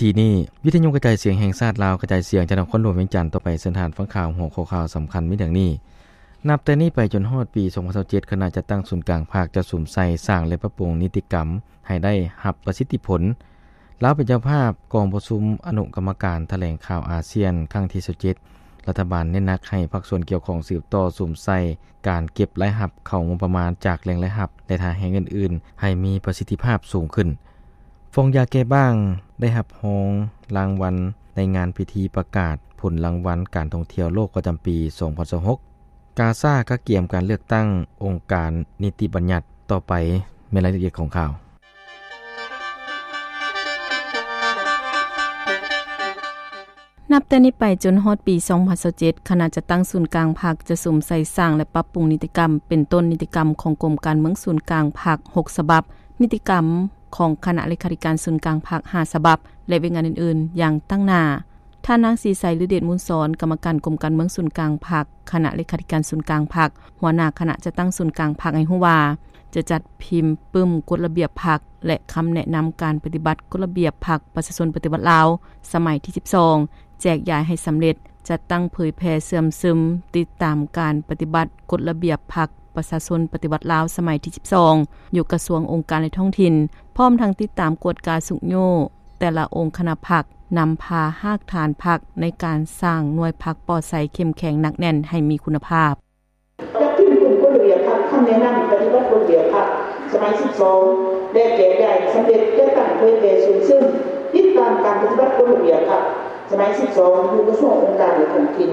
ທີນີ້ ວິທະຍຸກະຈາຍສຽງແຫ່ງຊາດລາວ ກະຈາຍສຽງຈາກນະຄອນຫຼວງວຽງຈັນຕໍ່ໄປ. ເຊີນທ່ານຟັງຂ່າວຫົວຂໍ້ຂ່າວສຳຄັນມີດັ່ງນີ້. ນັບແຕ່ນີ້ໄປຈົນຮອດປີສອງພັນຊາວເຈັດ ຄະນະຈັດຕັ້ງສູນກາງພັກຈະສຸມໃສ່ສ້າງ ແລະ ປັບປຸງນິຕິກຳໃຫ້ໄດ້ຮັບປະສິດທິຜົນ. ລາວເປັນເຈົ້າພາບກອງປະຊຸມອະນຸກຳມະການຖະແຫຼງຂ່າວອາຊຽນຄັ້ງທີຊາວເຈັດ. ລັດຖະບານເນັ້ນໜັກໃຫ້ພາກສ່ວນກ່ຽວຂ້ອງສືບຕໍ່ສຸມໃສ່ການເກັບລາຍຮັບເຂົ້າງົບປະມານຈາກແຫຼ່ງລາຍຮັບ ແລະ ທ່າແຮງອື່ນໆ ໃຫ້ມີປະສິດທິພາບສູງຂຶ້ນ. ຟອງຢາແກ້ບ້າງໄດ້ຮັບຮອງລາງວັນໃນງານພິທີປະກາດຜົນລາງວັນການທ່ອງທ່ຽວໂລກປະຈຳປີສອງພັນຊາວຫົກ. ກາຊາກະກຽມການເລືອກຕັ້ງອົງການນິຕິບັນຍັດຕໍ່ໄປ. ແມ່ນລາຍລະອຽດຂອງຂ່າວ. ນັບແຕ່ນີ້ໄປຈົນຮອດປີສອງພັນຊາວເຈັດ ຄະນະຈັດຕັ້ງສູນກາງພັກຈະສຸມໃສ່ສ້າງ ແລະ ປັບປຸງນິຕິກຳ ເປັນຕົ້ນນິຕິກຳຂອງກົມການເມືອງສູນກາງພັກຫົກສະບັບ, ນິຕິກຳຂອງຄະນະເລຂາທິການສູນກາງພັກຫ້າສະບັບ ແລະ ວຽກງານອື່ນໆຢ່າງຕັ້ງໜ້າ. ທ່ານນາງ ສີໄຊ ລືເດດມູນສອນ ກຳມະການກົມການເມືອງສູນກາງພັກ, ຄະນະເລຂາທິການສູນກາງພັກ, ຫົວໜ້າຄະນະຈັດຕັ້ງສູນກາງພັກ ໃຫ້ຮູ້ວ່າ ຈະຈັດພິມປຶ້ມກົດລະບຽບພັກ ແລະ ຄຳແນະນຳການປະຕິບັດກົດລະບຽບພັກປະຊາຊົນປະຕິວັດລາວ ສະໄໝທີສິບສອງ ແຈກຢາຍໃຫ້ສຳເລັດ, ຈັດຕັ້ງເຜີຍແຜ່ເຊື່ອມຊຶມ ຕິດຕາມການປະຕິບັດກົດລະບຽບພັກປະຊາຊົນປະຕິວັດລາວ ສະໄໝທີສິບສອງ ຢູ່ກະຊວງ, ອົງການ ແລະ ທ້ອງຖິ່ນ, ພ້ອມທັງຕິດຕາມກວດກາຊຸກຍູ້ແຕ່ລະອົງຄະນະພັກ, ນຳພາຮາກຖານພັກໃນການສ້າງໜ່ວຍພັກປອດໃສ ເຂັ້ມແຂງ ໜັກແໜ້ນ ໃຫ້ມີຄຸນນະພາບ. ຈັດພິມປຶ້ມກົດລະບຽບພັກ, ຄຳແນະນຳປະຕິບັດກົດລະບຽບພັກ ສະໄໝສິບສອງ ແລະ ແຈກຢາຍໃຫ້ສຳເລັດ, ຈັດຕັ້ງເຜີຍແຜ່ເຊື່ອມຊຶມ ຕິດຕາມການປະຕິບັດກົດລະບຽບພັກ ສະໄໝສິບສອງ ຢູ່ກະຊວງ, ອົງການ ແລະ ທ້ອງຖິ່ນ.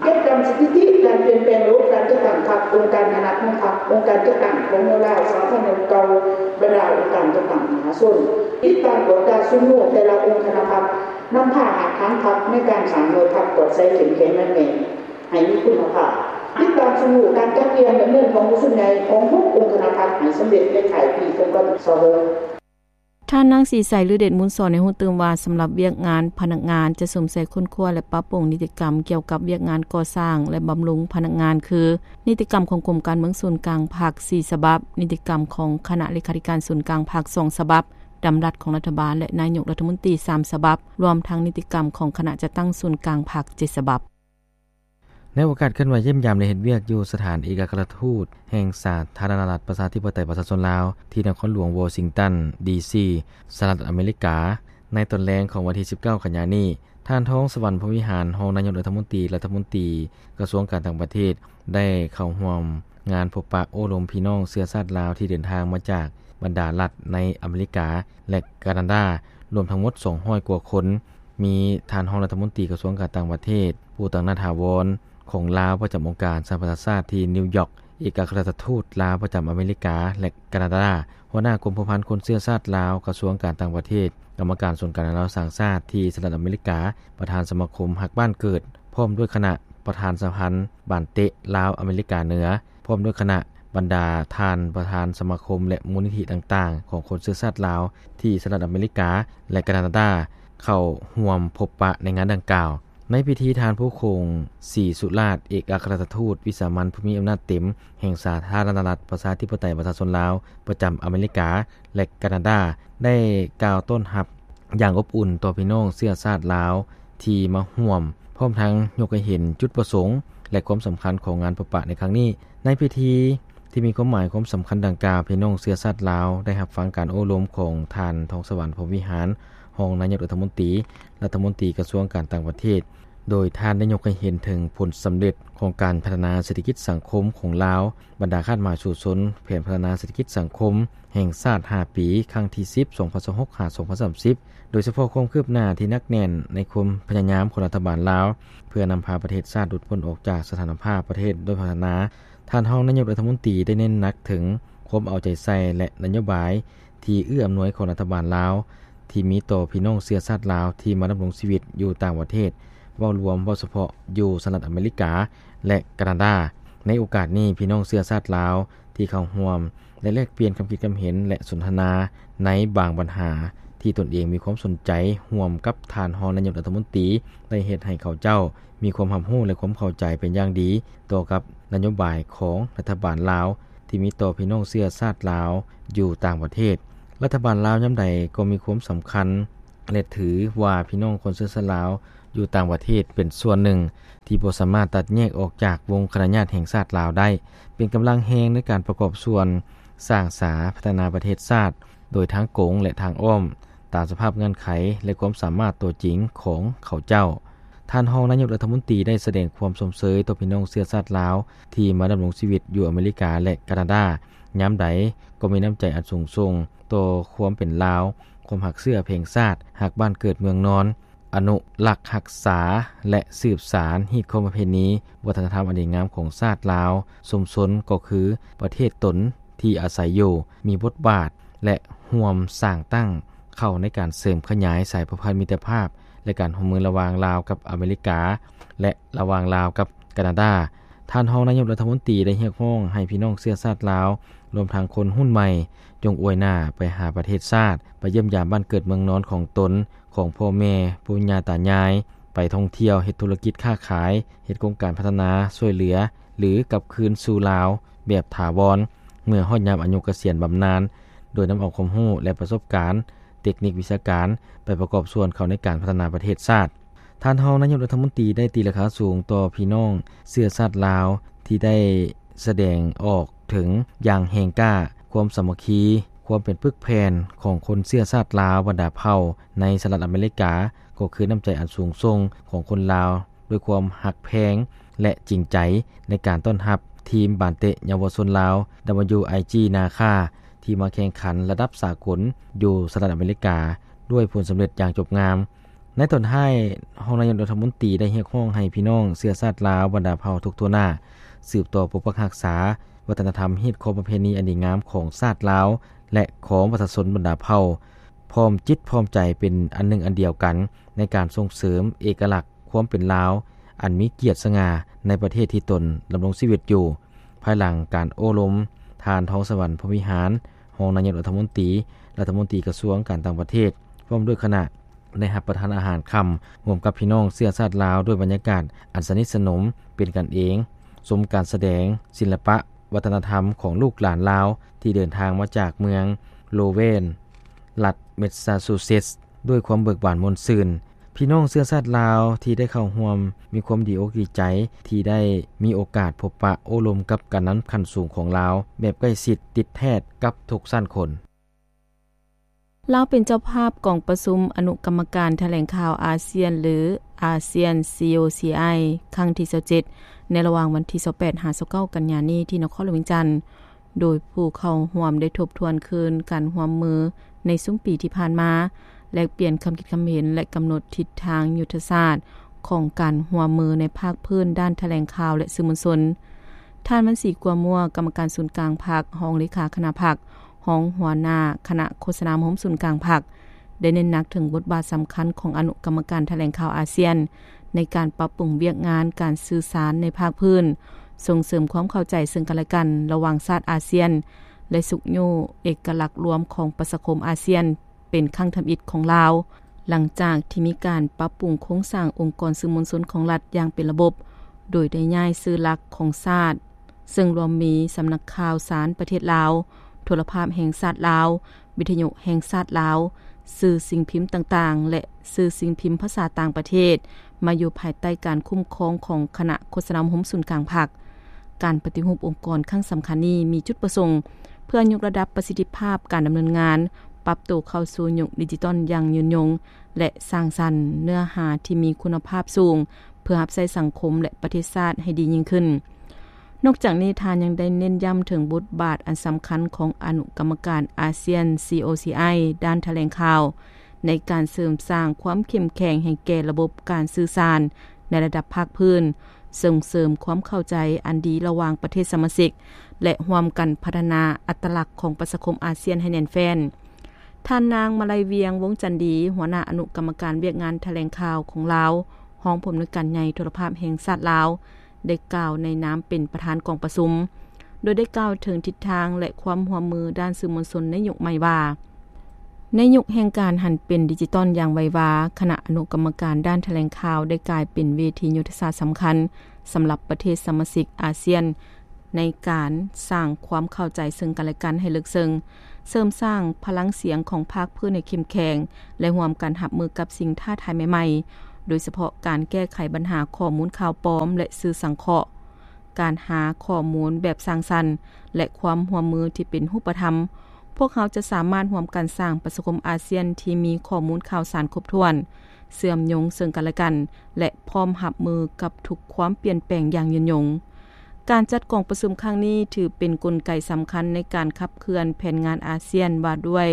ເກັບກຳສະຖິຕິການປ່ຽນແປງລະບົບການຈັດຕັ້ງພັກ, ອົງການຄະນະຂອງພັກ, ອົງການຈັດຕັ້ງຂອງໜ່ວຍລາວສາທາລະນະລັດເກົ່າ, ບັນດາອົງການຈັດຕັ້ງມະຫາຊົນ. ຕິດຕາມກວດກາຊຸກຍູ້ແຕ່ລະອົງຄະນະພັກ, ນຳພາຮາກຖານພັກໃນການສ້າງໜ່ວຍພັກປອດໃສ ເຂັ້ມແຂງ ໜັກແໜ້ນ ໃຫ້ມີຄຸນນະພາບ. ຕິດຕາມຊຸກຍູ້ການຈັດກຽມດຳເນີນກອງປະຊຸມໃຫຍ່ຂອງຫົກອົງຄະນະພັກໃຫ້ສຳເລັດໃນທ້າຍປີສອງພັນຊາວຫົກ. ທ່ານນາງ ສີໄຊ ລືເດດມູນສອນ ໃຫ້ຮູ້ຕື່ມວ່າ ສຳລັບວຽກງານພະນັກງານ ຈະສຸມໃສ່ຄົ້ນຄວ້າ ແລະ ປັບປຸງນິຕິກຳກ່ຽວກັບວຽກງານກໍ່ສ້າງ ແລະ ບຳລຸງພະນັກງານ ຄື ນິຕິກຳຂອງກົມການເມືອງສູນກາງພັກສີ່ສະບັບ, ນິຕິກຳຂອງຄະນະເລຂາທິການສູນກາງພັກສອງສະບັບ, ດຳລັດຂອງລັດຖະບານ ແລະ ນາຍົກລັດຖະມົນຕີສາມສະບັບ, ລວມທັງນິຕິກຳຂອງຄະນະຈັດຕັ້ງສູນກາງພັກເຈັດສະບັບ. ໃນໂອກາດເຄື່ອນໄຫວຢ້ຽມຢາມ ແລະ ເຮັດວຽກຢູ່ສະຖານເອກອັກຄະລັດທູດແຫ່ງສາທາລະນະລັດປະຊາທິປະໄຕປະຊາຊົນລາວ ທີ່ນະຄອນຫຼວງວໍຊິງຕັນ ດີຊີ ສະຫະລັດອາເມລິກາ ໃນຕອນແລງຂອງວັນທີສິບເກົ້າ ກັນຍານີ້, ທ່ານ ທອງສະຫວັນ ພົມວິຫານ ຮອງນາຍົກລັດຖະມົນຕີ, ລັດຖະມົນຕີກະຊວງການຕ່າງປະເທດ ໄດ້ເຂົ້າຮ່ວມງານພົບປະໂອ້ລົມພີ່ນ້ອງເຊື້ອຊາດລາວ ທີ່ເດີນທາງມາຈາກບັນດາລັດໃນອາເມລິກາ ແລະ ການາດາ ລວມທັງໝົດສອງຮ້ອຍກວ່າຄົນ. ມີທ່ານຮອງລັດຖະມົນຕີກະຊວງການຕ່າງປະເທດ ຜູ້ຕາງໜ້າຖາວອນຂອງລາວປະຈຳອົງການສະຫະປະຊາຊາດທີ່ນິວຢອກ, ເອກອັກຄະລັດທູດລາວປະຈຳອາເມລິກາ ແລະ ການາດາ, ຫົວໜ້າກົມພົວພັນຄົນເຊື້ອຊາດລາວ ກະຊວງການຕ່າງປະເທດ, ກຳມະການສູນກາງລາວສ້າງຊາດທີ່ສະຫະລັດອາເມລິກາ, ປະທານສະມາຄົມຮັກບ້ານເກີດ, ພ້ອມດ້ວຍຄະນະປະທານສະພັນບານເຕະລາວອາເມລິກາເໜືອ, ພ້ອມດ້ວຍຄະນະບັນດາທ່ານປະທານສະມາຄົມ ແລະ ມູນນິທິຕ່າງໆຂອງຄົນເຊື້ອຊາດລາວທີ່ສະຫະລັດອາເມລິກາ ແລະ ການາດາ ເຂົ້າຮ່ວມພົບປະໃນງານດັ່ງກ່າວ. ໃນພິທີ, ທ່ານ ພູຄົງ ສີສຸລາດ ເອກອັກຄະລັດທູດວິສາມັນຜູ້ມີອຳນາດເຕັມແຫ່ງສາທາລະນະລັດປະຊາທິປະໄຕປະຊາຊົນລາວປະຈຳອາເມລິກາ ແລະ ການາດາ ໄດ້ກ່າວຕ້ອນຮັບຢ່າງອົບອຸ່ນຕໍ່ພີ່ນ້ອງເຊື້ອຊາດລາວ ທີ່ມາຮ່ວມ, ພ້ອມທັງຍົກໃຫ້ເຫັນຈຸດປະສົງ ແລະ ຄວາມສຳຄັນຂອງງານພົບປະໃນຄັ້ງນີ້. ໃນພິທີທີ່ມີຄວາມໝາຍຄວາມສຳຄັນດັ່ງກ່າວ, ພີ່ນ້ອງເຊື້ອຊາດລາວໄດ້ຮັບຟັງການໂອ້ລົມຂອງທ່ານ ທອງສະຫວັນ ພົມວິຫານ ຮອງນາຍົກລັດຖະມົນຕີ, ລັດຖະມົນຕີກະຊວງການຕ່າງປະເທດ, ໂດຍທ່ານໄດ້ຍົກໃຫ້ເຫັນເຖິງຜົນສຳເລັດຂອງການພັດທະນາເສດຖະກິດສັງຄົມຂອງລາວ, ບັນດາຄາດໝາຍສູ້ຊົນ, ແຜນພັດທະນາເສດຖະກິດສັງຄົມ ແຫ່ງຊາດຫ້າປີ ຄັ້ງທີສິບ ສອງພັນຊາວຫົກ ຫາ ສອງພັນສາມສິບ ໂດຍສະເພາະຄວາມຄືບໜ້າທີ່ໜັກແໜ້ນໃນຄວາມພະຍາຍາມຂອງລັດຖະບານລາວ ເພື່ອນຳພາປະເທດຊາດຫຼຸດພົ້ນອອກຈາກສະຖານະພາບປະເທດດ້ອຍພັດທະນາ. ທ່ານຮອງນາຍົກລັດຖະມົນຕີໄດ້ເນັ້ນໜັກເຖິງຄວາມເອົາໃຈໃສ່ ແລະ ນະໂຍບາຍທີ່ເອື້ອອຳນວຍຂອງລັດຖະບານລາວ ທີ່ມີຕໍ່ພີ່ນ້ອງເຊື້ອຊາດລາວທີ່ມາດຳລົງຊີວິດຢູ່ຕ່າງປະເທດ ເວົ້າລວມ, ເວົ້າສະເພາະຢູ່ສະຫະລັດອາເມລິກາ ແລະ ການາດາ. ໃນໂອກາດນີ້, ພີ່ນ້ອງເຊື້ອຊາດລາວທີ່ເຂົ້າຮ່ວມ ໄດ້ແລກປ່ຽນຄຳຄິດຄຳເຫັນ ແລະ ສົນທະນາໃນບາງບັນຫາທີ່ຕົນເອງມີຄວາມສົນໃຈ ຮ່ວມກັບທ່ານຮອງນາຍົກລັດຖະມົນຕີ ໄດ້ເຮັດໃຫ້ເຂົາເຈົ້າມີຄວາມຮັບຮູ້ ແລະ ຄວາມເຂົ້າໃຈເປັນຢ່າງດີຕໍ່ກັບນະໂຍບາຍຂອງລັດຖະບານລາວ ທີ່ມີຕໍ່ພີ່ນ້ອງເຊື້ອຊາດລາວຢູ່ຕ່າງປະເທດ. ລັດຖະບານລາວຍາມໃດກໍມີຄວາມສຳຄັນ ແລະ ຖືວ່າພີ່ນ້ອງຄົນເຊື້ອຊາດລາວຢູ່ຕ່າງປະເທດເປັນສ່ວນໜຶ່ງທີ່ບໍ່ສາມາດຕັດແຍກອອກຈາກວົງຄະນະຍາດແຫ່ງຊາດລາວໄດ້, ເປັນກຳລັງແຮງໃນການປະກອບສ່ວນສ້າງສາພັດທະນາປະເທດຊາດ ໂດຍທາງກົງ ແລະ ທາງອ້ອມ ຕາມສະພາບເງື່ອນໄຂ ແລະ ຄວາມສາມາດຕົວຈິງຂອງເຂົາເຈົ້າ. ທ່ານຮອງນາຍົກລັດຖະມົນຕີໄດ້ສະແດງຄວາມຊົມເຊີຍຕໍ່ພີ່ນ້ອງເຊື້ອຊາດລາວທີ່ມາດຳລົງຊີວິດຢູ່ອາເມລິກາ ແລະ ການາດາ ຍາມໃດກໍມີນ້ຳໃຈອັນສູງສົ່ງຕໍ່ຄວາມເປັນລາວ, ຄວາມຮັກເຊື້ອແພງຊາດ, ຮັກບ້ານເກີດເມືອງນອນ, ອະນຸລັກຮັກສາ ແລະ ສືບສານຮີດຄອງປະເພນີວັດທະນະທຳອັນດີງາມຂອງຊາດລາວ, ຊຸມຊົນກໍຄືປະເທດຕົນທີ່ອາໄສຢູ່, ມີບົດບາດ ແລະ ຮ່ວມສ້າງຕັ້ງເຂົ້າໃນການເສີມຂະຫຍາຍສາຍພົວພັນມິດຕະພາບ ແລະ ການຮ່ວມມືລະຫວ່າງລາວກັບອາເມລິກາ ແລະ ລະຫວ່າງລາວກັບການາດາ. ທ່ານຮອງນາຍົກລັດຖະມົນຕີໄດ້ຮຽກຮ້ອງໃຫ້ພີ່ນ້ອງເຊື້ອຊາດລາວ, ລວມທັງຄົນຮຸ່ນໃໝ່, ຈົ່ງອວຍໜ້າໄປຫາປະເທດຊາດ, ໄປຢ້ຽມຢາມບ້ານເກີດເມືອງນອນຂອງຕົນ, ຂອງພໍ່ແມ່, ປູ່ຍ່າຕາຍາຍ, ໄປທ່ອງທ່ຽວ, ເຮັດທຸລະກິດຄ້າຂາຍ, ເຮັດໂຄງການພັດທະນາ, ຊ່ວຍເຫຼືອ ຫຼື ກັບຄືນສູ່ລາວແບບຖາວອນ ເມື່ອຮອດຍາມອາຍຸກະສຽນບຳນານ, ໂດຍນຳເອົາຄວາມຮູ້ ແລະ ປະສົບການເຕັກນິກວິຊາການໄປປະກອບສ່ວນເຂົ້າໃນການພັດທະນາປະເທດຊາດ. ທ່ານຮອງນາຍົກລັດຖະມົນຕີໄດ້ຕີລາຄາສູງຕໍ່ພີ່ນ້ອງເຊື້ອຊາດລາວທີ່ໄດ້ສະແດງອອກເຖິງຢ່າງແຮງກ້າຄວາມສາມັກຄີ, ຄວາມເປັນປຶກແຜ່ນຂອງຄົນເຊື້ອຊາດລາວບັນດາເຜົ່າໃນສະຫະລັດອາເມລິກາ, ກໍຄືນ້ຳໃຈອັນສູງສົ່ງຂອງຄົນລາວ ດ້ວຍຄວາມຮັກແພງ ແລະ ຈິງໃຈໃນການຕ້ອນຮັບທີມບານເຕະເຍົາວະຊົນລາວ WIG ນາຄາ ທີ່ມາແຂ່ງຂັນລະດັບສາກົນຢູ່ສະຫະລັດອາເມລິກາ ດ້ວຍຜົນສຳເລັດຢ່າງຈົບງາມ. ໃນຕອນທ້າຍ, ຮອງນາຍົກລັດຖະມົນຕີໄດ້ຮຽກຮ້ອງໃຫ້ພີ່ນ້ອງເຊື້ອຊາດລາວບັນດາເຜົ່າທຸກທົ່ວໜ້າ ສືບຕໍ່ປົກປັກຮັກສາວັດທະນະທຳ, ຮີດຄອງປະເພນີອັນດີງາມຂອງຊາດລາວ ແລະ ຂອງປະຊາຊົນບັນດາເຜົ່າ, ພ້ອມຈິດພ້ອມໃຈເປັນອັນໜຶ່ງອັນດຽວກັນ ໃນການສົ່ງເສີມເອກະລັກຄວາມເປັນລາວອັນມີກຽດສະຫງ່າໃນປະເທດທີ່ຕົນດຳລົງຊີວິດຢູ່. ພາຍຫຼັງການໂອ້ລົມ, ທ່ານ ທອງສະຫວັນ ພົມວິຫານ ຮອງນາຍົກລັດຖະມົນຕີ, ລັດຖະມົນຕີກະຊວງການຕ່າງປະເທດ ພ້ອມດ້ວຍຄະນະ ໄດ້ຮັບປະທານອາຫານຄ່ຳຮ່ວມກັບພີ່ນ້ອງເຊື້ອຊາດລາວ ດ້ວຍບັນຍາກາດອັນສະໜິດສະໜົມ, ເປັນກັນເອງ, ຊົມການສະແດງສິລະປະວັດທະນະທຳຂອງລູກຫຼານລາວ ທີ່ເດີນທາງມາຈາກເມືອງໂລເວນ ລັດແມສຊາຊູເຊັດ ດ້ວຍຄວາມເບີກບານມ່ວນຊື່ນ. ພີ່ນ້ອງເຊື້ອຊາດລາວທີ່ໄດ້ເຂົ້າຮ່ວມມີຄວາມດີອົກດີໃຈທີ່ໄດ້ມີໂອກາດພົບປະໂອ້ລົມກັບການນຳຂັ້ນສູງຂອງລາວແບບໃກ້ຊິດຕິດແທດກັບທຸກຊັ້ນຄົນ. ລາວເປັນເຈົ້າພາບກອງປະຊຸມອະນຸກຳມະການຖະແຫຼງຂ່າວອາຊຽນ ຫຼື ASEAN COCI ຄັ້ງທີຊາວເຈັດ ໃນລະຫວ່າງວັນທີຊາວແປດ ຫາ ຊາວເກົ້າ ກັນຍານີ້ ທີ່ນະຄອນຫຼວງວຽງຈັນ. ໂດຍຜູ້ເຂົ້າຮ່ວມໄດ້ທົບທວນຄືນການຮ່ວມມືໃນຊຸມປີທີ່ຜ່ານມາ, ແລກປ່ຽນຄຳຄິດຄຳເຫັນ ແລະ ກຳນົດທິດທາງຍຸດທະສາດຂອງການຮ່ວມມືໃນພາກພື້ນດ້ານຖະແຫຼງຂ່າວ ແລະ ສື່ມວນຊົນ. ທ່ານ ວັນສີ ກົວມົວ, ກຳມະການສູນກາງພັກ, ຮອງເລຂາຄະນະພັກ, ຮອງຫົວໜ້າຄະນະໂຄສະນາໂຮມສູນກາງພັກ ໄດ້ເນັ້ນໜັກເຖິງບົດບາດສຳຄັນຂອງອະນຸກຳມະການຖະແຫຼງຂ່າວອາຊຽນ ໃນການປັບປຸງວຽກງານການສື່ສານໃນພາກພື້ນ, ສົ່ງເສີມຄວາມເຂົ້າໃຈເຊິ່ງກັນແລະກັນລະຫວ່າງຊາດອາຊຽນ ແລະ ຊຸກຍູ້ເອກະລັກລວມຂອງປະຊາຄົມອາຊຽນ ເປັນຄັ້ງທຳອິດຂອງລາວ, ຫຼັງຈາກທີ່ມີການປັບປຸງໂຄງສ້າງອົງກອນສື່ມວນຊົນຂອງລັດຢ່າງເປັນລະບົບ, ໂດຍໄດ້ຍ້າຍສື່ຫຼັກຂອງຊາດ, ເຊິ່ງລວມມີສຳນັກຂ່າວສານປະເທດລາວ, ໂທລະພາບແຫ່ງຊາດລາວ, ວິທະຍຸແຫ່ງຊາດລາວ, ສື່ສິ່ງພິມຕ່າງໆ ແລະ ສື່ສິ່ງພິມພາສາຕ່າງປະເທດ ມາຢູ່ພາຍໃຕ້ການຄຸ້ມຄອງຂອງຄະນະໂຄສະນາໂຮມສູນກາງພັກ. ການປະຕິຮູບອົງກອນຄັ້ງສຳຄັນນີ້ມີຈຸດປະສົງເພື່ອຍົກລະດັບປະສິດທິພາບການດຳເນີນງານ, ປັບໂຕເຂົ້າສູ່ຍຸກດິຈິຕອນຢ່າງຍືນຍົງ ແລະ ສ້າງສັນເນື້ອຫາທີ່ມີຄຸນນະພາບສູງ ເພື່ອຮັບໃຊ້ສັງຄົມ ແລະ ປະເທດຊາດໃຫ້ດີຍິ່ງຂຶ້ນ. ນອກຈາກນີ້, ທ່ານຍັງໄດ້ເນັ້ນຢ້ຳເຖິງບົດບາດອັນສຳຄັນຂອງອະນຸກຳມະການອາຊຽນ COCI ດ້ານຖະແຫຼງຂ່າວ ໃນການເສີມສ້າງຄວາມເຂັ້ມແຂງໃຫ້ແກ່ລະບົບການສື່ສານໃນລະດັບພາກພື້ນ, ສົ່ງເສີມຄວາມເຂົ້າໃຈອັນດີລະຫວ່າງປະເທດສະມາຊິກ ແລະ ຮ່ວມກັນພັດທະນາອັດຕະລັກຂອງປະຊາຄົມອາຊຽນໃຫ້ແໜ້ນແຟ້ນ. ທ່ານນາງ ມາໄລວຽງ ວົງຈັນດີ, ຫົວໜ້າອະນຸກຳມະການວຽກງານຖະແຫຼງຂ່າວຂອງລາວ, ຮອງຜູ້ອຳນວຍການໃຫຍ່ໂທລະພາບແຫ່ງຊາດລາວ, ໄດ້ກ່າວໃນນາມເປັນປະທານກອງປະຊຸມ, ໂດຍໄດ້ກ່າວເຖິງທິດທາງ ແລະ ຄວາມຮ່ວມມືດ້ານສື່ມວນຊົນໃນຍຸກໃໝ່ວ່າ, ໃນຍຸກແຫ່ງການຫັນເປັນດິຈິຕອນຢ່າງໄວວາ, ຄະນະອະນຸກຳມະການດ້ານຖະແຫຼງຂ່າວໄດ້ກາຍເປັນເວທີຍຸດທະສາດສຳຄັນສຳລັບປະເທດສະມາຊິກອາຊຽນ ໃນການສ້າງຄວາມເຂົ້າໃຈເຊິ່ງກັນແລະກັນໃຫ້ເລິກເຊິ່ງ, ເສີມສ້າງພະລັງສຽງຂອງພາກພື້ນໃຫ້ເຂັ້ມແຂງ ແລະ ຮ່ວມກັນຮັບມືກັບສິ່ງທ້າທາຍໃໝ່ໆ, ໂດຍສະເພາະການແກ້ໄຂບັນຫາຂໍ້ມູນຂ່າວປອມ ແລະ ສື່ສັງເຄາະ, ການຫາຂໍ້ມູນແບບສ້າງສັນ ແລະ ຄວາມຮ່ວມມືທີ່ເປັນຮູບປະທຳ. ພວກເຮົາຈະສາມາດຮ່ວມກັນສ້າງປະຊາຄົມອາຊຽນທີ່ມີຂໍ້ມູນຂ່າວສານຄົບຖ້ວນ, ເຊື່ອມໂຍງເຊິ່ງກັນແລະກັນ ແລະ ພ້ອມຮັບມືກັບທຸກຄວາມປ່ຽນແປງຢ່າງຍືນຍົງ. ການຈັດກອງປະຊຸມຄັ້ງນີ້ຖືເປັນກົນໄກສຳຄັນໃນການຂັບເຄື່ອນແຜນງານອາຊຽນວ່າດ້ວຍ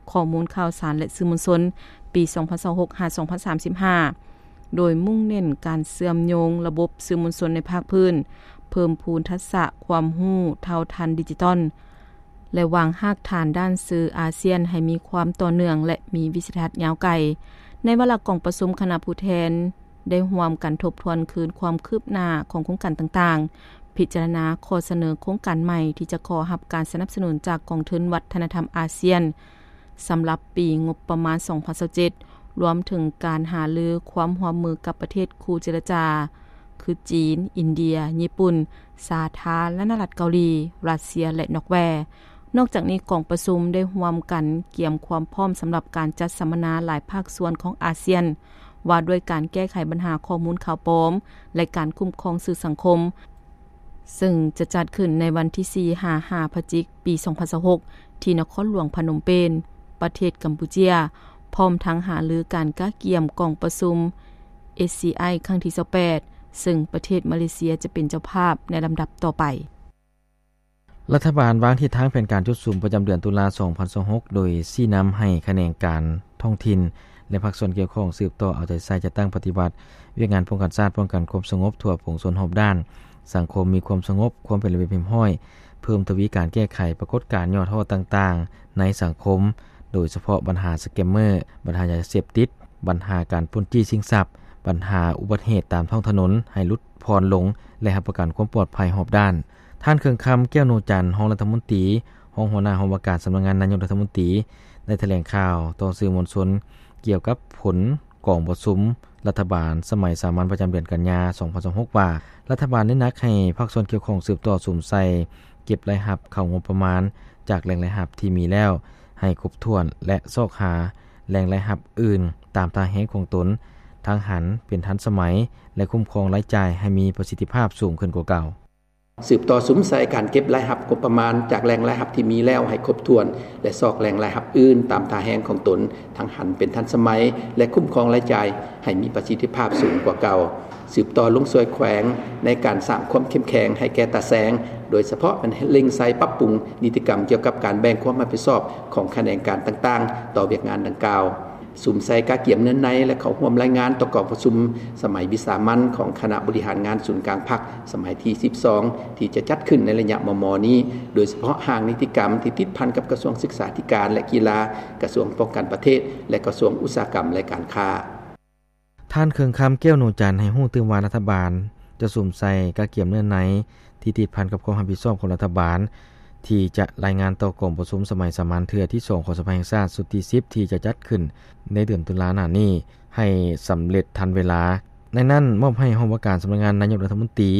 ຂໍ້ມູນຂ່າວສານ ແລະ ສື່ມວນຊົນ ປີສອງພັນຊາວຫົກ ຫາ ສອງພັນສາມສິບຫ້າ ໂດຍມຸ່ງເນັ້ນການເຊື່ອມໂຍງລະບົບສື່ມວນຊົນໃນພາກພື້ນ, ເພີ່ມພູນທັກສະຄວາມຮູ້ເທົ່າທັນດິຈິຕອນ ແລະ ວາງຮາກຖານດ້ານສື່ອາຊຽນໃຫ້ມີຄວາມຕໍ່ເນື່ອງ ແລະ ມີວິສັຍທັດຍາວໄກ. ໃນວາລະກອງປະຊຸມ, ຄະນະຜູ້ແທນໄດ້ຮ່ວມກັນທົບທວນຄືນຄວາມຄືບໜ້າຂອງໂຄງການຕ່າງໆ, ພິຈາລະນາຂໍ້ສະເໜີໂຄງການໃໝ່ທີ່ຈະຂໍຮັບການສະໜັບສະໜູນຈາກກອງທຶນວັດທະນະທຳອາຊຽນ ສຳລັບປີງົບປະມານສອງພັນຊາວເຈັດ, ລວມເຖິງການຫາລືຄວາມຮ່ວມມືກັບປະເທດຄູ່ເຈລະຈາ ຄື ຈີນ, ອິນເດຍ, ຍີ່ປຸ່ນ, ສາທາລະນະລັດເກົາຫຼີ, ຣັດເຊຍ ແລະ ນອກແວ. ນອກຈາກນີ້, ກອງປະຊຸມໄດ້ຮ່ວມກັນກຽມຄວາມພ້ອມສຳລັບການຈັດສຳມະນາຫຼາຍພາກສ່ວນຂອງອາຊຽນ ວ່າດ້ວຍການແກ້ໄຂບັນຫາຂໍ້ມູນຂ່າວປອມ ແລະ ການຄຸ້ມຄອງສື່ສັງຄົມ, ເຊິ່ງຈະຈັດຂຶ້ນໃນວັນທີສີ່ ຫາ ຫ້າ ພະຈິກ ປີສອງພັນຊາວຫົກ ທີ່ນະຄອນຫຼວງພະນົມເປນ, ປະເທດກຳປູເຈຍ, ພ້ອມທັງຫາລືການກະກຽມກອງປະຊຸມ ເອຊຊີໄອ ຄັ້ງທີຊາວແປດ ເຊິ່ງປະເທດມາເລເຊຍຈະເປັນເຈົ້າພາບໃນລຳດັບຕໍ່ໄປ. ລັດຖະບານວາງທິດທາງແຜນການຈຸດສຸມປະຈຳເດືອນຕຸລາ ສອງພັນຊາວຫົກ ໂດຍຊີ້ນຳໃຫ້ຂະແໜງການທ້ອງຖິ່ນ ແລະ ພາກສ່ວນກ່ຽວຂ້ອງສືບຕໍ່ເອົາໃຈໃສ່ຈັດຕັ້ງປະຕິບັດວຽກງານປ້ອງກັນຊາດ, ປ້ອງກັນຄວາມສະຫງົບທົ່ວປວງຊົນຮອບດ້ານ, ສັງຄົມມີຄວາມສະຫງົບ, ຄວາມເປັນລະບຽບຮຽບຮ້ອຍ, ເພີ່ມທະວີການແກ້ໄຂປາກົດການຫຍໍ້ທໍ້ຕ່າງໆໃນສັງຄົມ, ໂດຍສະເພາະບັນຫາສະແກມເມີ, ບັນຫາຢາເສບຕິດ, ບັນຫາການປຸ້ນຈີ້ຊິງຊັບ, ບັນຫາອຸບັດເຫດຕາມທ້ອງຖະໜົນໃຫ້ຫຼຸດຜ່ອນລົງ ແລະ ຮັບປະກັນຄວາມປອດໄພຮອບດ້ານ. ທ່ານ ເຄື່ອງຄຳ ແກ້ວໂນຈັນ, ຮອງລັດຖະມົນຕີ, ຮອງຫົວໜ້າຫ້ອງວ່າການສຳນັກງານນາຍົກລັດຖະມົນຕີ ໄດ້ຖະແຫຼງຂ່າວຕໍ່ສື່ມວນຊົນກ່ຽວກັບຜົນກອງປະຊຸມລັດຖະບານສະໄໝສາມັນປະຈຳເດືອນກັນຍາ ສອງພັນຊາວຫົກ ວ່າ ລັດຖະບານໄດ້ໜັກໃຫ້ພາກສ່ວນກ່ຽວຂ້ອງສືບຕໍ່ສຸມໃສ່ເກັບລາຍຮັບເຂົ້າງົບປະມານຈາກແຫຼ່ງລາຍຮັບທີ່ມີແລ້ວໃຫ້ຄົບຖ້ວນ ແລະ ຊອກຫາແຫຼ່ງລາຍຮັບອື່ນຕາມທ່າແຮງຂອງຕົນ, ທັງຫັນເປັນທັນສະໄໝ ແລະ ຄຸ້ມຄອງລາຍຈ່າຍໃຫ້ມີປະສິດທິພາບສູງຂຶ້ນກວ່າເກົ່າ. ສືບຕໍ່ສຸມໃສ່ການເກັບລາຍຮັບງົບປະມານຈາກແຫຼ່ງລາຍຮັບທີ່ມີແລ້ວໃຫ້ຄົບຖ້ວນ ແລະ ຊອກແຫຼ່ງລາຍຮັບອື່ນຕາມທ່າແຮງຂອງຕົນ, ທັງຫັນເປັນທັນສະໄໝ ແລະ ຄຸ້ມຄອງລາຍຈ່າຍໃຫ້ມີປະສິດທິພາບສູງກວ່າເກົ່າ. ສືບຕໍ່ລົງຊ່ວຍແຂວງໃນການສ້າງຄວາມເຂັ້ມແຂງໃຫ້ແກ່ຕາແສງ, ໂດຍສະເພາະແມ່ນເລັ່ງໃສ່ປັບປຸງນິຕິກຳກ່ຽວກັບການແບ່ງຄວາມຮັບຜິດຊອບຂອງຂະແໜງການຕ່າງໆຕໍ່ວຽກງານດັ່ງກ່າວ. ສຸມໃສ່ກະກຽມເນື້ອໃນ ແລະ ເຂົ້າຮ່ວມລາຍງານຕໍ່ກອງປະຊຸມສະໄໝວິສາມັນຂອງຄະນະບໍລິຫານງານສູນກາງພັກ ສະໄໝທີສິບສອງ ທີ່ຈະຈັດຂຶ້ນໃນໄລຍະມໍ່ໆນີ້, ໂດຍສະເພາະຮ່າງນິຕິກຳທີ່ຕິດພັນກັບກະຊວງສຶກສາທິການ ແລະ ກິລາ, ກະຊວງປ້ອງກັນປະເທດ ແລະ ກະຊວງອຸດສາຫະກຳ ແລະ ການຄ້າ. ທ່ານ ເຄື່ອງຄຳ ແກ້ວໂນຈັນ ໃຫ້ຮູ້ຕື່ມວ່າ ລັດຖະບານຈະສຸມໃສ່ກະກຽມເນື້ອໃນທີ່ຕິດພັນກັບຄວາມຮັບຜິດຊອບຂອງລັດຖະບານ ທີ່ຈະລາຍງານຕໍ່ກອງປະຊຸມສະໄໝສາມັນເທື່ອທີສອງຂອງສະພາແຫ່ງຊາດຊຸດທີສິບ ທີ່ຈະຈັດຂຶ້ນໃນເດືອນຕຸລາໜ້ານີ້ໃຫ້ສຳເລັດທັນເວລາ. ໃນນັ້ນ ມອບໃຫ້ຫ້ອງວ່າການສຳນັກງານນາຍົກລັດຖະມົນຕີ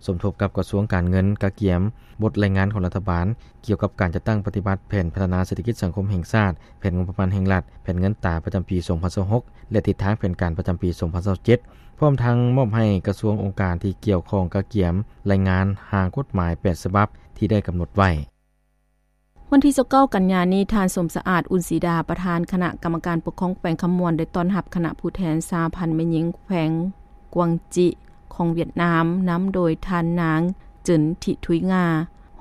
ສົມທົບກັບກະຊວງການເງິນ ກະກຽມບົດລາຍງານຂອງລັດຖະບານ ກ່ຽວກັບການຈັດຕັ້ງປະຕິບັດແຜນພັດທະນາເສດຖະກິດສັງຄົມແຫ່ງຊາດ, ແຜນງົບປະມານແຫ່ງລັດ, ແຜນເງິນຕາປະຈຳປີສອງພັນຊາວຫົກ ແລະ ທິດທາງແຜນການປະຈຳປີສອງພັນຊາວເຈັດ ພ້ອມທັງມອບໃຫ້ກະຊວງອົງການທີ່ກ່ຽວຂ້ອງກະກຽມລາຍງານຮ່າງກົດໝາຍແປດສະບັບທີ່ໄດ້ກຳນົດໄວ້. ວັນທີຊາວເກົ້າ ກັນຍານີ້, ທ່ານ ສົມສະອາດ ອຸ່ນສີດາ, ປະທານຄະນະກຳມະການປົກຄອງແຂວງຄຳມ່ວນ ໄດ້ຕ້ອນຮັບຄະນະຜູ້ແທນສະຫະພັນແມ່ຍິງແຂວງກວາງຈິຂອງຫວຽດນາມ, ນຳໂດຍທ່ານນາງ ເຈິນ ທິທຸຍງາ,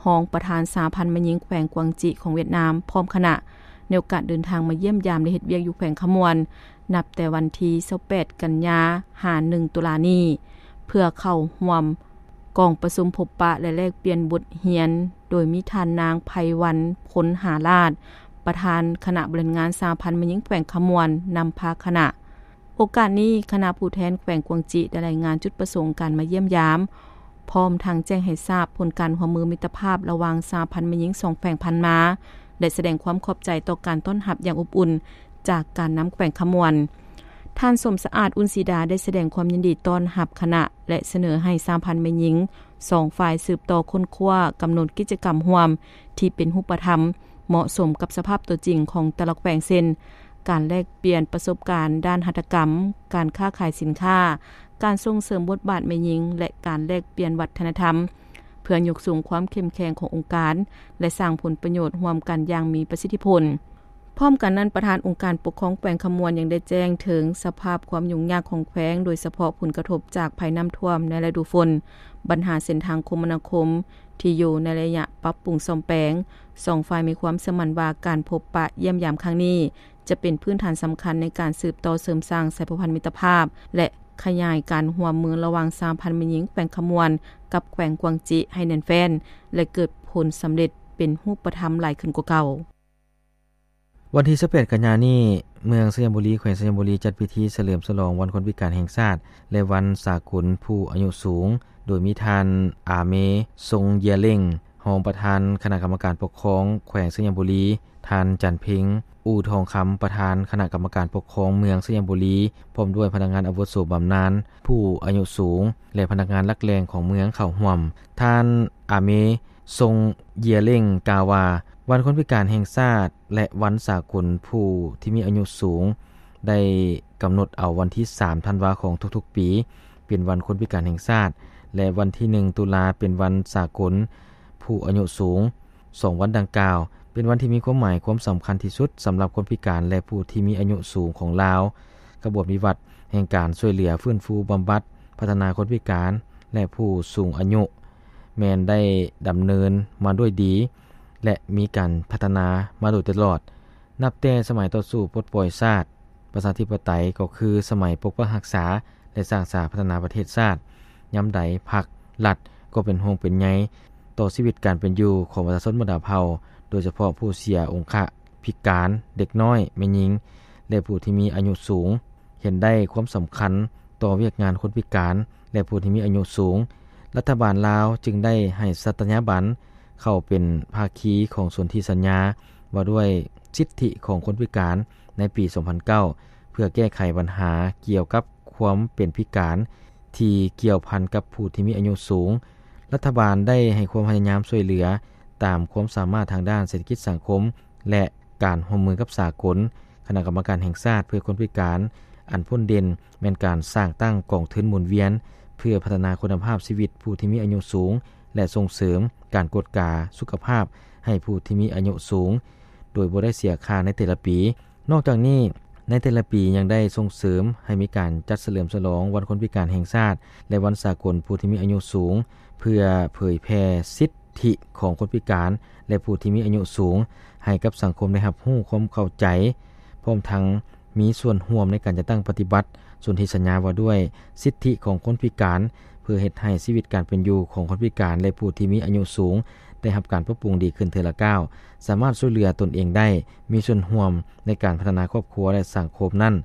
ຮອງປະທານສະຫະພັນແມ່ຍິງແຂວງກວາງຈິຂອງຫວຽດນາມ ພ້ອມຄະນະ ໃນໂອກາດເດີນທາງມາຢ້ຽມຢາມ ແລະ ເຮັດວຽກຢູ່ແຂວງຄຳມ່ວນ ນັບແຕ່ວັນທີຊາວແປດ ກັນຍາ ຫາ ໜຶ່ງ ຕຸລານີ້ ເພື່ອເຂົ້າຮ່ວມກອງປະຊຸມພົບປະ ແລະ ແລກປ່ຽນບົດຮຽນ, ໂດຍມີທ່ານນາງ ໄພວັນ ພົນຫາລາດ, ປະທານຄະນະບໍລິຫານງານສະຫະພັນແມ່ຍິງແຂວງຄຳມ່ວນ ນຳພາຄະນະ. ໂອກາດນີ້, ຄະນະຜູ້ແທນແຂວງກວາງຈິໄດ້ລາຍງານຈຸດປະສົງການມາຢ້ຽມຢາມ, ພ້ອມທັງແຈ້ງໃຫ້ຊາບຜົນການຮ່ວມມືມິດຕະພາບລະຫວ່າງສະຫະພັນແມ່ຍິງສອງແຂວງຜ່ານມາ ແລະ ສະແດງຄວາມຂອບໃຈຕໍ່ການຕ້ອນຮັບຢ່າງອົບອຸ່ນຈາກການນຳແຂວງຄຳມ່ວນ. ທ່ານ ສົມສະອາດ ອຸ່ນສີດາ ໄດ້ສະແດງຄວາມຍິນດີຕ້ອນຮັບຄະນະ ແລະ ສະເໜີໃຫ້ສະຫະພັນແມ່ຍິງສອງຝ່າຍສືບຕໍ່ຄົ້ນຄວ້າກຳນົດກິດຈະກຳຮ່ວມທີ່ເປັນຮູບປະທຳ ເໝາະສົມກັບສະພາບຕົວຈິງຂອງແຕ່ລະແຂວງ ເຊັ່ນ ການແລກປ່ຽນປະສົບການດ້ານຫັດຖະກຳ, ການຄ້າຂາຍສິນຄ້າ, ການສົ່ງເສີມບົດບາດແມ່ຍິງ ແລະ ການແລກປ່ຽນວັດທະນະທຳ ເພື່ອຍົກສູງຄວາມເຂັ້ມແຂງຂອງອົງການ ແລະ ສ້າງຜົນປະໂຫຍດຮ່ວມກັນຢ່າງມີປະສິດທິຜົນ. ພ້ອມກັນນັ້ນ, ປະທານອົງການປົກຄອງແຂວງຄຳມ່ວນຍັງໄດ້ແຈ້ງເຖິງສະພາບຄວາມຫຍຸ້ງຍາກຂອງແຂວງ, ໂດຍສະເພາະຜົນກະທົບຈາກໄພນ້ຳຖ້ວມໃນລະດູຝົນ, ບັນຫາເສັ້ນທາງຄົມມະນາຄົມທີ່ຢູ່ໃນໄລຍະປັບປຸງສ້ອມແປງ. ສອງຝ່າຍມີຄວາມເຊື່ອໝັ້ນວ່າ ການພົບປະຢ້ຽມຢາມຄັ້ງນີ້ ຈະເປັນພື້ນຖານສຳຄັນໃນການສືບຕໍ່ເສີມສ້າງສາຍພົວພັນມິດຕະພາບ ແລະ ຂະຫຍາຍການຮ່ວມມືລະຫວ່າງສະຫະພັນແມ່ຍິງແຂວງຄຳມ່ວນ ກັບແຂວງກວາງຈິໃຫ້ແໜ້ນແຟ້ນ ແລະ ເກີດຜົນສຳເລັດເປັນຮູບປະທຳຫຼາຍຂຶ້ນກວ່າເກົ່າ. ວັນທີຊາວແປດ ກັນຍານີ້, ເມືອງໄຊຍະບູລີ ແຂວງໄຊຍະບູລີ ຈັດພິທີສະເຫຼີມສະຫຼອງວັນຄົນພິການແຫ່ງຊາດ ແລະ ວັນສາກົນຜູ້ອາຍຸສູງ, ໂດຍມີທ່ານ ອາເມ ຊົງເຢຍເລັງ ຮອງປະທານຄະນະກຳມະການປົກຄອງແຂວງໄຊຍະບູລີ, ທ່ານ ຈັນເພັງ ອູ່ທອງຄຳ ປະທານຄະນະກຳມະການປົກຄອງເມືອງໄຊຍະບູລີ ພ້ອມດ້ວຍພະນັກງານອາວຸໂສບຳນານຜູ້ອາຍຸສູງ ແລະ ພະນັກງານຫຼັກແຫຼ່ງຂອງເມືອງເຂົ້າຮ່ວມ. ທ່ານ ອາເມ ຊົງເຢຍເລັງ ກ່າວວ່າ ວັນຄົນພິການແຫ່ງຊາດ ແລະ ວັນສາກົນຜູ້ທີ່ມີອາຍຸສູງ ໄດ້ກຳນົດເອົາວັນທີສາມ ທັນວາຂອງທຸກໆປີ ເປັນວັນຄົນພິການແຫ່ງຊາດ ແລະ ວັນທີໜຶ່ງ ຕຸລາ ເປັນວັນສາກົນຜູ້ອາຍຸສູງ. ສອງວັນດັ່ງກ່າວ ເປັນວັນທີ່ມີຄວາມໝາຍຄວາມສຳຄັນທີ່ສຸດສຳລັບຄົນພິການ ແລະ ຜູ້ທີ່ມີອາຍຸສູງຂອງລາວ. ຂະບວນວິວັດແຫ່ງການຊ່ວຍເຫຼືອ, ຟື້ນຟູບຳບັດ, ພັດທະນາຄົນພິການ ແລະ ຜູ້ສູງອາຍຸ ແມ່ນໄດ້ດຳເນີນມາດ້ວຍດີ ແລະ ມີການພັດທະນາມາໂດຍຕະຫຼອດ. ນັບແຕ່ສະໄໝຕໍ່ສູ້ປົດປ່ອຍຊາດ, ປະຊາທິປະໄຕ ກໍຄືສະໄໝປົກປັກຮັກສາ ແລະ ສ້າງສາພັດທະນາປະເທດຊາດ. ຍາມໃດພັກ, ລັດ ກໍເປັນຫ່ວງເປັນໃຍຕໍ່ຊີວິດການເປັນຢູ່ຂອງປະຊາຊົນບັນດາເຜົ່າ, ໂດຍສະເພາະຜູ້ເສຍອົງຄະພິການ, ເດັກນ້ອຍ, ແມ່ຍິງ ແລະ ຜູ້ທີ່ມີອາຍຸສູງ. ເຫັນໄດ້ຄວາມສຳຄັນຕໍ່ວຽກງານຄົນພິການ ແລະ ຜູ້ທີ່ມີອາຍຸສູງ, ລັດຖະບານລາວຈຶ່ງໄດ້ໃຫ້ສັດຕະຍາບັນເຂົ້າເປັນພາຄີຂອງສົນທິສັນຍາວ່າດ້ວຍສິດທິຂອງຄົນພິການໃນປີສອງພັນເກົ້າ ເພື່ອແກ້ໄຂບັນຫາກ່ຽວກັບຄວາມເປັນພິການທີ່ກ່ຽວພັນກັບຜູ້ທີ່ມີອາຍຸສູງ. ລັດຖະບານໄດ້ໃຫ້ຄວາມພະຍາຍາມຊ່ວຍເຫຼືອຕາມຄວາມສາມາດທາງດ້ານເສດຖະກິດສັງຄົມ ແລະ ການຮ່ວມມືກັບສາກົນ, ຄະນະກຳມະການແຫ່ງຊາດເພື່ອຄົນພິການ. ອັນພົ້ນເດັ່ນແມ່ນການສ້າງຕັ້ງກອງທຶນໝູນວຽນ ເພື່ອພັດທະນາຄຸນນະພາບຊີວິດຜູ້ທີ່ມີອາຍຸສູງ ແລະ ສົ່ງເສີມການກວດກາສຸຂະພາບໃຫ້ຜູ້ທີ່ມີອາຍຸສູງ ໂດຍບໍ່ໄດ້ເສຍຄ່າໃນແຕ່ລະປີ. ນອກຈາກນີ້, ໃນແຕ່ລະປີຍັງໄດ້ສົ່ງເສີມໃຫ້ມີການຈັດສະເຫຼີມສະຫຼອງວັນຄົນພິການແຫ່ງຊາດ ແລະ ວັນສາກົນຜູ້ທີ່ມີອາຍຸສູງ ເພື່ອເຜີຍແຜ່ສິດ ທິຂອງຄົນພິການ ແລະ ຜູ້ທີ່ມີອາຍຸສູງ ໃຫ້ກັບສັງຄົມໄດ້ຮັບຮູ້ຄວາມເຂົ້າໃຈ, ພ້ອມທັງມີສ່ວນຮ່ວມໃນການຈັດຕັ້ງປະຕິບັດສົນທິສັນຍາວ່າດ້ວຍສິດທິຂອງຄົນພິການ ເພື່ອເຮັດໃຫ້ຊີວິດການເປັນຢູ່ຂອງຄົນພິການ ແລະ ຜູ້ທີ່ມີອາຍຸສູງໄດ້ຮັບການປັບປຸງດີຂຶ້ນເທື່ອລະກ້າວ, ສາມາດຊ່ວຍເຫຼືອຕົນເອງໄດ້, ມີສ່ວນຮ່ວມໃນການພັດທະນາຄອບຄົວ ແລະ ສັງຄົມນັ້ນ.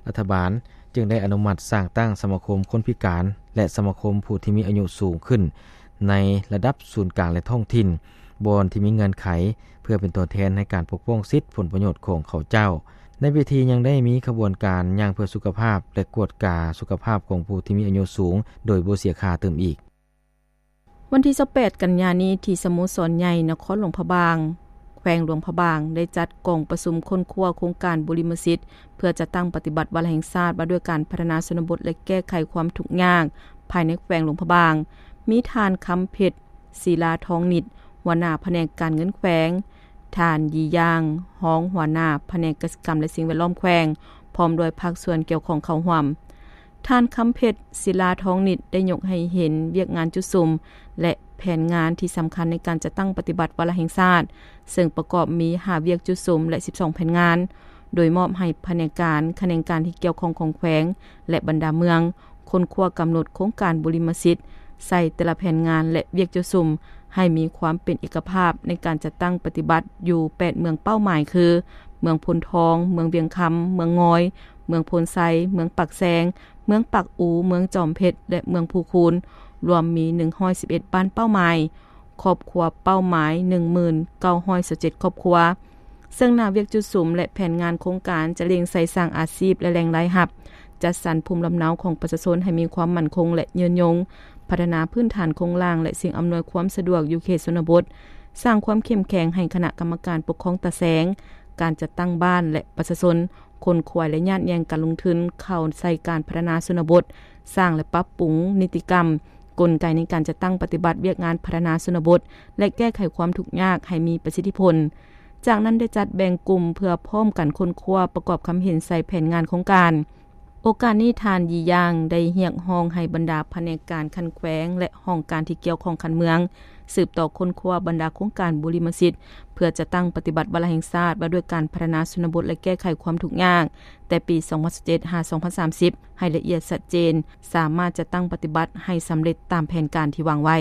ລັດຖະບານຈຶ່ງໄດ້ອະນຸມັດສ້າງຕັ້ງສະມາຄົມຄົນພິການ ແລະ ສະມາຄົມຜູ້ທີ່ມີອາຍຸສູງຂຶ້ນ ໃນລະດັບສູນກາງ ແລະ ທ້ອງຖິ່ນ, ບ່ອນທີ່ມີເງື່ອນໄຂ ເພື່ອເປັນຕົວແທນໃນການປົກປ້ອງສິດຜົນປະໂຫຍດຂອງເຂົາເຈົ້າ. ໃນພິທີຍັງໄດ້ມີຂະບວນການຍ່າງເພື່ອສຸຂະພາບ ແລະ ກວດກາສຸຂະພາບຂອງຜູ້ທີ່ມີອາຍຸສູງ ໂດຍບໍ່ເສຍຄ່າຕື່ມອີກ. ວັນທີຊາວແປດ ກັນຍານີ້ ທີ່ສະໂມສອນໃຫຍ່ນະຄອນຫຼວງພະບາງ, ແຂວງຫຼວງພະບາງ ໄດ້ຈັດກອງປະຊຸມຄົ້ນຄວ້າໂຄງການບຸລິມະສິດ ເພື່ອຈັດຕັ້ງປະຕິບັດວາລະແຫ່ງຊາດວ່າດ້ວຍການພັດທະນາຊົນນະບົດ ແລະ ແກ້ໄຂຄວາມທຸກຍາກພາຍໃນແຂວງຫຼວງພະບາງ. ມີທ່ານ ຄຳເພັດ ສີລາທອງນິດ ຫົວໜ້າພະແນກການເງິນແຂວງ, ທ່ານ ຢີຢາງ ຮອງຫົວໜ້າພະແນກກະສິກຳ ແລະ ສິ່ງແວດລ້ອມແຂວງ, ພ້ອມດ້ວຍພາກສ່ວນກ່ຽວຂ້ອງເຂົ້າຮ່ວມ. ທ່ານ ຄຳເພັດ ສີລາທອງນິດ ໄດ້ຍົກໃຫ້ເຫັນວຽກງານຈຸດສຸມ ແລະ ແຜນງານທີ່ສຳຄັນໃນການຈັດຕັ້ງປະຕິບັດວາລະແຫ່ງຊາດ, ເຊິ່ງປະກອບມີ ຫ້າ ວຽກຈຸດສຸມ ແລະ ສິບສອງ ແຜນງານ, ໂດຍມອບໃຫ້ພະແນກການ, ຂະແໜງການທີ່ກ່ຽວຂ້ອງຂອງແຂວງ ແລະ ບັນດາເມືອງ, ຄົ້ນຄວ້າກຳນົດໂຄງການບຸລິມະສິດໃສ່ແຕ່ລະແຜນງານ ແລະ ວຽກຈຸດສຸມ ໃຫ້ມີຄວາມເປັນເອກະພາບໃນການຈັດຕັ້ງປະຕິບັດຢູ່ ແປດ ເມືອງເປົ້າໝາຍ ຄື ເມືອງໂພນທອງ, ເມືອງວຽງຄຳ, ເມືອງງອຍ, ເມືອງໂພນໄຊ, ເມືອງປາກແຊງ, ເມືອງປາກອູ, ເມືອງຈອມເພັດ ແລະ ເມືອງພູຄູນ, ລວມມີ ໜຶ່ງຮ້ອຍສິບເອັດ ບ້ານເປົ້າໝາຍ, ຄອບຄົວເປົ້າໝາຍ ໜຶ່ງໝື່ນເກົ້າຮ້ອຍຊາວເຈັດ ຄອບຄົວ. ເຊິ່ງໜ້າວຽກຈຸດສຸມ ແລະ ແຜນງານໂຄງການຈະເລັ່ງໃສ່ສ້າງອາຊີບ ແລະ ແຫຼ່ງລາຍຮັບ, ຈັດສັນພູມລຳເນົາຂອງປະຊາຊົນໃຫ້ມີຄວາມໝັ້ນຄົງ ແລະ ຍືນຍົງ, ພັດທະນາພື້ນຖານໂຄງລ່າງ ແລະ ສິ່ງອຳນວຍຄວາມສະດວກຢູ່ເຂດຊົນນະບົດ, ສ້າງຄວາມເຂັ້ມແຂງໃຫ້ຄະນະກຳມະການປົກຄອງຕາແສງ, ການຈັດຕັ້ງບ້ານ ແລະ ປະຊາຊົນ, ຄົນ, ຄວາຍ ແລະ ຍາດແຍ່ງການລົງທຶນເຂົ້າໃສ່ການພັດທະນາຊົນນະບົດ, ສ້າງ ແລະ ປັບປຸງນິຕິກຳ, ກົນໄກໃນການຈັດຕັ້ງປະຕິບັດວຽກງານພັດທະນາຊົນນະບົດ ແລະ ແກ້ໄຂຄວາມທຸກຍາກໃຫ້ມີປະສິດທິຜົນ. ຈາກນັ້ນໄດ້ຈັດແບ່ງກຸ່ມເພື່ອພ້ອມກັນຄົ້ນຄວ້າປະກອບຄຳເຫັນໃສ່ແຜນງານໂຄງການ. ໂອກາດນີ້ ທ່ານ ຢີຢາງ ໄດ້ຮຽກຮ້ອງໃຫ້ບັນດາພະແນກການຂັ້ນແຂວງ ແລະ ຫ້ອງການທີ່ກ່ຽວຂ້ອງຂັ້ນເມືອງ ສືບຕໍ່ຄົ້ນຄວ້າບັນດາໂຄງການບຸລິມະສິດ ເພື່ອຈັດຕັ້ງປະຕິບັດວາລະແຫ່ງຊາດວ່າດ້ວຍການພັດທະນາຊົນນະບົດ ແລະ ແກ້ໄຂຄວາມທຸກຍາກ ແຕ່ປີສອງພັນສິບເຈັດ ຫາ ສອງພັນສາມສິບ ໃຫ້ລະອຽດຊັດເຈນ, ສາມາດຈັດຕັ້ງປະຕິບັດໃຫ້ສຳເລັດຕາມແຜນການທີ່ວາງໄວ້.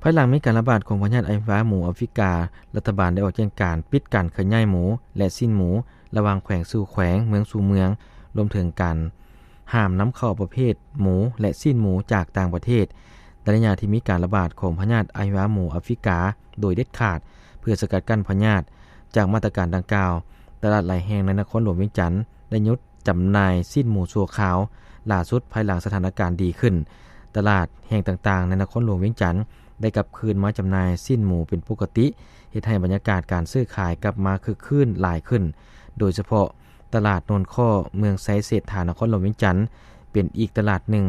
ພາຍຫຼັງມີການລະບາດຂອງພະຍາດອະຫິວາໝູອາຟຣິກາ, ລັດຖະບານໄດ້ອອກແຈ້ງການປິດການເຄື່ອນຍ້າຍໝູ ແລະ ຊີ້ນໝູ ລະຫວ່າງແຂວງສູ່ແຂວງ, ເມືອງສູ່ເມືອງ, ລວມເຖິງການຫ້າມນຳເຂົ້າປະເພດໝູ ແລະ ຊີ້ນໝູຈາກຕ່າງປະເທດ ໃນໄລຍະທີ່ມີການລະບາດຂອງພະຍາດອະຫິວາໝູອາຟຣິກາໂດຍເດັດຂາດ ເພື່ອສະກັດກັ້ນພະຍາດ. ຈາກມາດຕະການດັ່ງກ່າວ, ຕະຫຼາດຫຼາຍແຫ່ງໃນນະຄອນຫຼວງວຽງຈັນໄດ້ຢຸດ ຈຳໜ່າຍຊີ້ນໝູຊົ່ວຄາວ, ຫຼ້າສຸດພາຍຫຼັງສະຖານະການດີຂຶ້ນ, ຕະຫຼາດແຫ່ງຕ່າງໆໃນນະຄອນຫຼວງວຽງຈັນໄດ້ກັບຄືນມາຈຳໜ່າຍຊີ້ນໝູເປັນປົກກະຕິ, ເຮັດໃຫ້ບັນຍາກາດການຊື້ຂາຍກັບມາຄຶກຄື້ນຫຼາຍຂຶ້ນ, ໂດຍສະເພາະຕະຫຼາດໂນນຄໍ້ ເມືອງໄຊເສດຖາ ນະຄອນຫຼວງວຽງຈັນ ເປັນອີກຕະຫຼາດໜຶ່ງ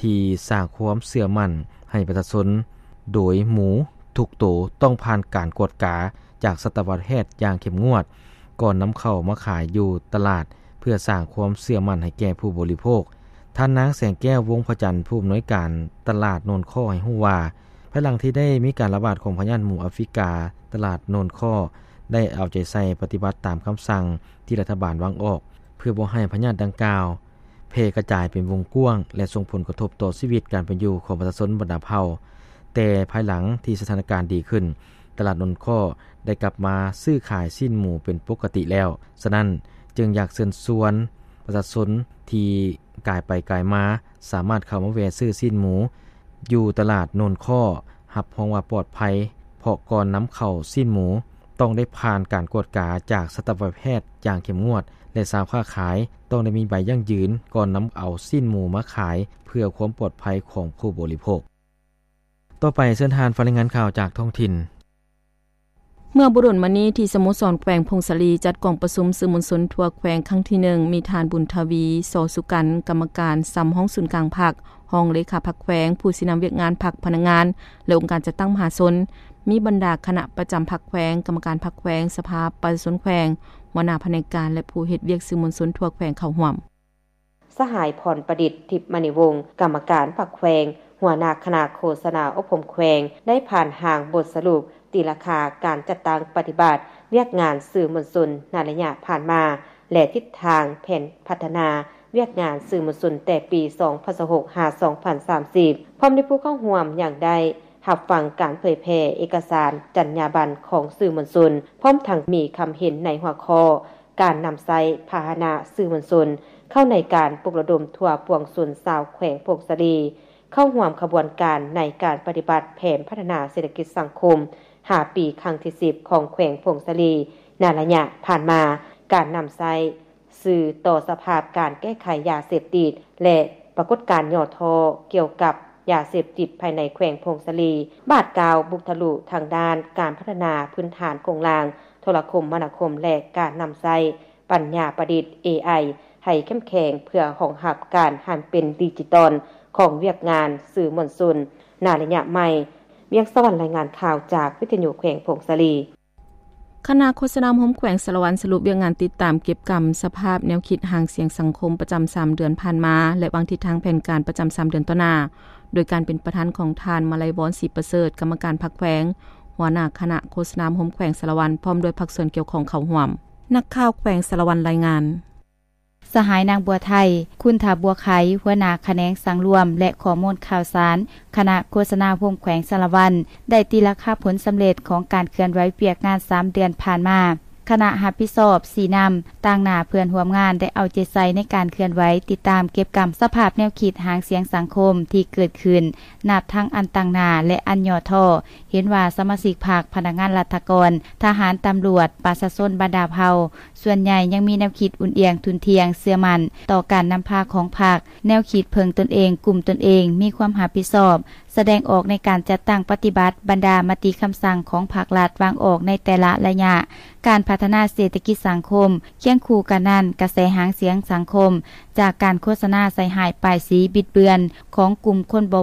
ທີ່ສ້າງຄວາມເຊື່ອໝັ້ນໃຫ້ປະຊາຊົນ, ໂດຍໝູທຸກໂຕຕ້ອງຜ່ານການກວດກາຈາກສັດຕະວະແພດຢ່າງເຂັ້ມງວດ ກ່ອນນຳເຂົ້າມາຂາຍຢູ່ຕະຫຼາດ ເພື່ອສ້າງຄວາມເຊື່ອໝັ້ນໃຫ້ແກ່ຜູ້ບໍລິໂພກ. ທ່ານນາງ ແສງແກ້ວ ວົງພະຈັນ ຜູ້ອຳນວຍການຕະຫຼາດໂນນຄໍ້ ໃຫ້ຮູ້ວ່າ, ພາຍຫຼັງທີ່ໄດ້ມີການລະບາດຂອງພະຍາດໝູອາຟຣິກາ, ຕະຫຼາດໂນນຄໍ້ໄດ້ເອົາໃຈໃສ່ປະຕິບັດຕາມຄຳສັ່ງທີ່ລັດຖະບານວາງອອກ ເພື່ອບໍ່ໃຫ້ພະຍາດດັ່ງກ່າວ ແຜ່ກະຈາຍເປັນວົງກວ້າງ ແລະ ສົ່ງຜົນກະທົບຕໍ່ຊີວິດການເປັນຢູ່ຂອງປະຊາຊົນບັນດາເຜົ່າ. ແຕ່ພາຍຫຼັງທີ່ສະຖານະການດີຂຶ້ນ, ຕະຫຼາດໂນນຄໍ້ໄດ້ກັບມາຊື້ຂາຍຊີ້ນໝູເປັນປົກກະຕິແລ້ວ. ສະນັ້ນ, ຈຶ່ງຢາກເຊີນຊວນປະຊາຊົນທີ່ກາຍໄປກາຍມາ ສາມາດເຂົ້າມາແວ່ຊື້ຊີ້ນໝູຢູ່ຕະຫຼາດໂນນຄໍ້, ຮັບຮອງວ່າປອດໄພ, ເພາະກ່ອນນຳເຂົ້າຊີ້ນໝູ ຕ້ອງໄດ້ຜ່ານການກວດກາຈາກສັດຕະວະແພດຢ່າງເຂັ້ມງວດ ແລະ ຊາວຄ້າຂາຍຕ້ອງໄດ້ມີໃບຢັ້ງຢືນກ່ອນນຳເອົາຊີ້ນໝູມາຂາຍ ເພື່ອຄວາມປອດໄພຂອງຜູ້ບໍລິໂພກ. ຕໍ່ໄປເຊີນທ່ານຟັງລາຍງານຂ່າວຈາກທ້ອງຖິ່ນ. ເມື່ອບໍ່ດົນມານີ້ ທີ່ສະໂມສອນແຂວງຜົ້ງສາລີ ຈັດກອງປະຊຸມສື່ມວນຊົນທົ່ວແຂວງຄັ້ງທີໜຶ່ງ ມີທ່ານ ບຸນທະວີ ສໍສຸກັນ ກຳມະການສຳຮອງສູນກາງພັກ, ຮອງເລຂາພັກແຂວງ, ຜູ້ຊີ້ນຳວຽກງານພັກ, ພະນັກງານ ແລະ ອົງການຈັດຕັ້ງມະຫາຊົນ, ມີບັນດາຄະນະປະຈຳພັກແຂວງ, ກຳມະການພັກແຂວງ, ສະພາປະຊາຊົນແຂວງ, ຫົວໜ້າພະແນກການ ແລະ ຜູ້ເຮັດວຽກສື່ມວນຊົນທົ່ວແຂວງເຂົ້າຮ່ວມ. ສະຫາຍ ພອນປະດິດ ທິບມະນີວົງ ກຳມະການພັກແຂວງ, ຫົວໜ້າຄະນະໂຄສະນາອົບຮົມແຂວງ ໄດ້ຜ່ານຮ່າງບົດສະຫຼຸບຕີລາຄາການຈັດຕັ້ງປະຕິບັດວຽກງານສື່ມວນຊົນໃນໄລຍະຜ່ານມາ ແລະ ທິດທາງແຜນພັດທະນາວຽກງານສື່ມວນຊົນແຕ່ປີສອງພັນຊາວຫົກ ຫາ ສອງພັນສາມສິບ ພ້ອມດ້ວຍຜູ້ເຂົ້າຮ່ວມຍັງໄດ້ຮັບຟັງການເຜີຍແຜ່ເອກະສານຈັນຍາບັນຂອງສື່ມວນຊົນ, ພ້ອມທັງມີຄຳເຫັນໃນຫົວຂໍ້ ການນຳໃຊ້ພາຫະນະສື່ມວນຊົນເຂົ້າໃນການປຸກລະດົມທົ່ວປວງຊົນຊາວແຂວງຜົ້ງສາລີ ເຂົ້າຮ່ວມຂະບວນການໃນການປະຕິບັດແຜນພັດທະນາເສດຖະກິດສັງຄົມຫ້າປີ ຄັ້ງທີສິບ ຂອງແຂວງຜົ້ງສາລີ ໃນໄລຍະຜ່ານມາ, ການນຳໃຊ້ສື່ຕໍ່ສະພາບການແກ້ໄຂຢາເສບຕິດ ແລະ ປາກົດການຫຍໍ້ທໍ້ກ່ຽວກັບ ຢາເສບຕິດພາຍໃນແຂວງຜົ້ງສາລີ, ບາດກ້າວບຸກທະລຸທາງດ້ານການພັດທະນາພື້ນຖານໂຄງລ່າງໂທລະຄົມມະນາຄົມ ແລະ ການນຳໃຊ້ປັນຍາປະດິດ ເອໄອ ໃຫ້ເຂັ້ມແຂງ ເພື່ອຮອງຮັບການຫັນເປັນດິຈິຕອນຂອງວຽກງານສື່ມວນຊົນໃນໄລຍະໃໝ່. ວຽງສະຫວັນ ລາຍງານຂ່າວຈາກວິທະຍຸແຂວງຜົ້ງສາລີ. ຄະນະໂຄສະນາອົບຮົມແຂວງສາລະວັນ ສະຫຼຸບວຽກງານຕິດຕາມເກັບກຳສະພາບແນວຄິດຫາງສຽງສັງຄົມປະຈຳສາມເດືອນຜ່ານມາ ແລະ ວາງທິດທາງແຜນການປະຈຳສາມເດືອນຕໍ່ໜ້າ ໂດຍການເປັນປະທານຂອງທ່ານ ມະໄລວອນ ສີປະເສີດ ກຳມະການພັກແຂວງ, ຫົວໜ້າຄະນະໂຄສະນາອົບຮົມແຂວງສາລະວັນ ພ້ອມດ້ວຍພາກສ່ວນກ່ຽວຂ້ອງເຂົ້າຮ່ວມ. ນັກຂ່າວແຂວງສາລະວັນລາຍງານ. ສະຫາຍ ນາງ ບົວໄທ ຄຸນທາບົວໄຄ ຫົວໜ້າຂະແໜງສັງລວມ ແລະ ຂໍ້ມູນຂ່າວສານ ຄະນະໂຄສະນາອົບຮົມແຂວງສາລະວັນ ໄດ້ຕີລາຄາຜົນສຳເລັດຂອງການເຄື່ອນໄຫວວຽກງານສາມເດືອນຜ່ານມາ. ຄະນະຮັບຜິດຊອບຊີ້ນຳ, ຕາງໜ້າເພື່ອນຮ່ວມງານໄດ້ເອົາໃຈໃສ່ໃນການເຄື່ອນໄຫວ, ຕິດຕາມເກັບກຳສະພາບແນວຄິດຫາງສຽງສັງຄົມທີ່ເກີດຂຶ້ນ ນັບທັງອັນຕາງໜ້າ ແລະ ອັນຫຍໍ້ທໍ້. ເຫັນວ່າສະມາຊິກພັກ, ພະນັກງານລັດຖະກອນ, ທະຫານ, ຕຳຫຼວດ, ປະຊາຊົນບັນດາເຜົ່າ ສ່ວນໃຫຍ່ຍັງມີແນວຄິດອຸ່ນອຽງທຸ່ນທ່ຽງເຊື່ອໝັ້ນຕໍ່ການນຳພາຂອງພັກ, ແນວຄິດເພິ່ງຕົນເອງ, ກຸ້ມຕົນເອງ, ມີຄວາມຮັບຜິດຊອບ, ສ ສະແດງອອກໃນການຈັດຕັ້ງປະຕິບັດບັນດາມະຕິຄຳສັ່ງຂອງພັກລັດວາງອອກໃນແຕ່ລະໄລຍະການພັດທະນາເສດຖະກິດສັງຄົມ. ຄຽງຄູ່ກັນນັ້ນ, ກະແສຫາງສຽງສັງຄົມ ຈາກການໂຄສະນາໃສ່ຮ້າຍປ້າຍສີບິດເບືອນຂອງກຸ່ມຄົນບໍ່